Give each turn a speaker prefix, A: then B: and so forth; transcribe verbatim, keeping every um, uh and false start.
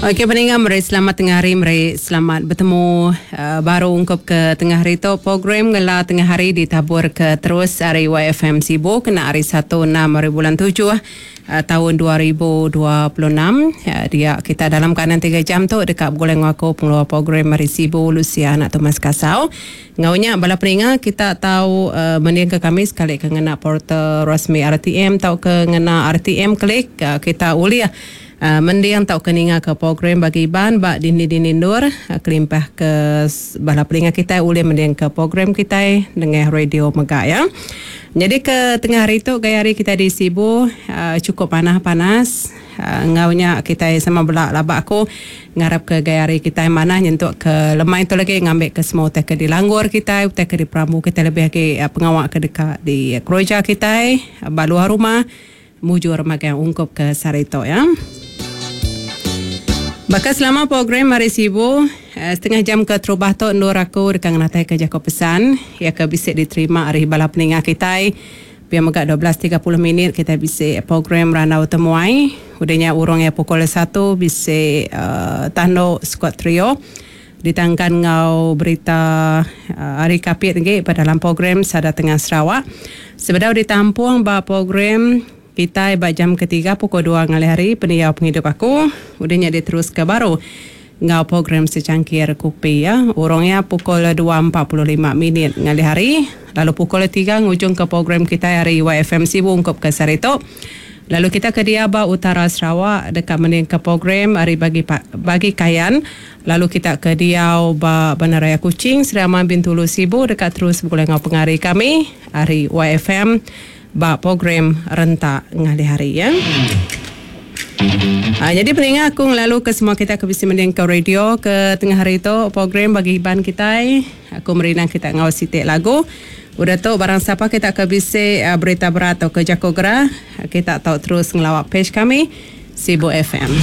A: Okey peninga meri selamat tengah hari meri selamat betemu uh, baru ungkup ke tengah hari tu program ngela tengah hari ditabur ke terus ari Y F M Sibu kena hari satu enam hari bulan tujuh uh, tahun dua ribu dua puluh enam. Uh, dia kita dalam kanan tiga jam tu dekat begulai ngaku pengeluar program hari Sibu Lucia anak Thomas Kasau. Ngaunya bala peninga kita tahu uh, mending ke kami sekali ke ngena portal rasmi R T M atau ke ngena R T M klik uh, kita uliah Uh, mendiang tau keninga ke program bagi Iban bak dini-dini nur uh, kelimpah ke bala pelinga kita boleh mendiang ke program kita dengan radio megak ya. Jadi ke tengah hari tu gaya hari kita di Sibu uh, cukup panas-panas. Uh, ngaunya kita sama belak labak aku ngarap ke gaya hari kita mana nyentuk ke lemai tu lagi ngambil ke semua utai ke di langgur kita, utai ke di perambu kita lebih lagi uh, pengawak ke dekat di keroja kita, uh, bak luar rumah mujur magang ungkup ke Sarito ya. Bakal selama program hari Sibu setengah jam ke terubah tu nur aku dekat ngatai ke Jakob pesan ya ke bisik diterima hari bala peninga kita. Biar megak dua belas tiga puluh minit kita bisik program Ranau Temuai. Udahnya urang ya pukul satu bisik uh, tando squad trio ditangkan ngau berita uh, hari kapit lagi pada dalam program Sada Tengah Sarawak. Sebedau ditampung ba program kita ba jam ketiga pukul dua ngalih hari peniau penghidup aku udahnya diterus ke baru ngau program secangkir kopi ya. Orangnya pukul dua empat puluh lima minit ngalih hari lalu pukul tiga ngujung ke program kita hari Y F M Sibu ungkup ke Sarito. Lalu kita ke Diaba Utara Sarawak dekat mending ke program hari bagi bagi Kayan. Lalu kita ke Diau ba Bandaraya Kuching Seraman Bintulu Sibu dekat terus bergulai ngau pengari kami hari Y F M ba program rentak ngalih hari ya. Ha, jadi peninga aku ngelalu ke semua kita ke bisi mending ke radio ke tengah hari tu program bagi Iban kita. Aku merinang kita ngau sitik lagu. Udah tu barang siapa kita ke bisi uh, berita berat atau ke jako gerah, kita tahu terus ngelawak page kami Sibu F M.